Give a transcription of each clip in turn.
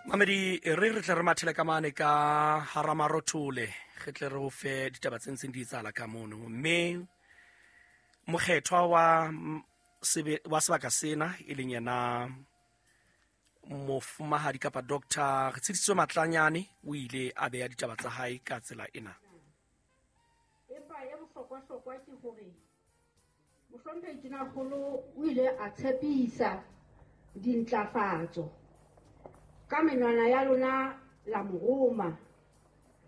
Mamedi, e re re tle re mathele ka mane ka Haramarothole, re tle re o fe ditaba tse ntseng di etsahala ka mono. Mme mokgethwa wa sebe, wa sebaka sena e leng yena mofumahadi kapa Doctor Retshedisitswe Matlanyane o ile a beya ditaba tsa hae ka tsela ena. Empa ya bohlokwa-hlokwa ke hore Mohlomphehi Tonakgolo o ile a tshepisa dintlafatso ka menwana ya lona la mo roma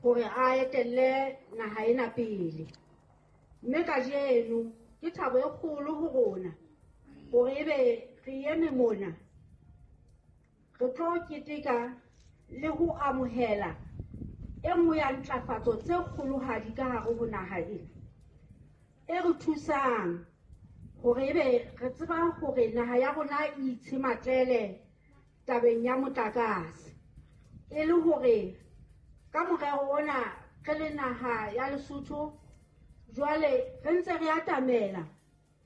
hore a etelle naha ena pele. Mme kajeno ke thabo e kgolo ho rona hore ebe re eme mona re tlo keteka le ho amohela e nngwe ya ntlafatso tse kgolohadi ka hare ho naha ena e re thusang hore ebe re tseba hore naha ya rona e itshematlele tabeng ya motlakase, e le hore ka morero ona re le naha ya Lesotho jwale re ntse re atamela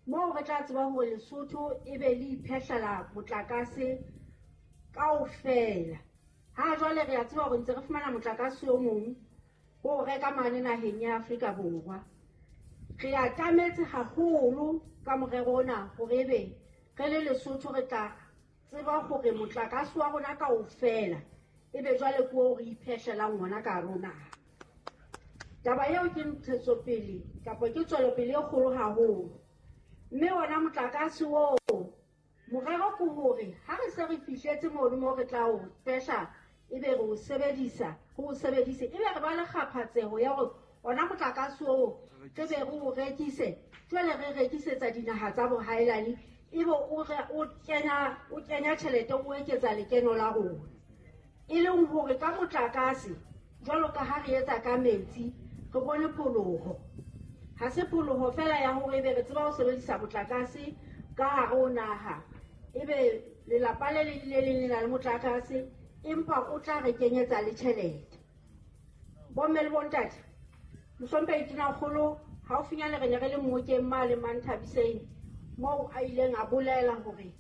moo re tla tseba hore Lesotho e be le iphehlela motlakase kaofela. Ha jwale re a tseba hore ntse re fumana motlakase o mong ho reka mane naheng ya Afrika Borwa. Re atametse haholo ka morero ona hore ebe re le Lesotho re tla tseba hore motlakase wa rona kaofela e be jwale ke o re iphehlelang ona ka hare ho naha. Taba eo ke ntshetsopele kapa ke tswelopele e kgolo haholo. Mme ona motlakase oo, morero ke hore ha re se re fihletse mono moo re tla o fehla, ebe re o sebedisa, re o sebedise, ebe re ba le kgaphatseho ya hore ona motlakase oo re be re o rekise, jwale re rekisetsa dinaha tsa bohaelane, ebe o kenya tjhelete, o eketsa lekeno la rona. E leng hore ka motlakase, jwalo ka ha re etsa ka metsi, re bone pholoho. Ha se pholoho fela ya hore ebe re tseba ho sebedisa motlakase ka hare ho naha, ebe lelapa le leng le leng le na le motlakase, empa o tla re kenyetsa le tjhelete. Bomme le bontate, Mohlomphehi Tonakgolo, haufinyane re ne re le mmokeng mane Manthabiseng, moo a ileng a bolela hore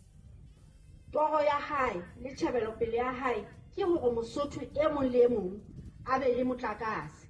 toro ya hae le tjhebelopele ya hae ke hore Mosotho e mong le e mong a be le motlakase.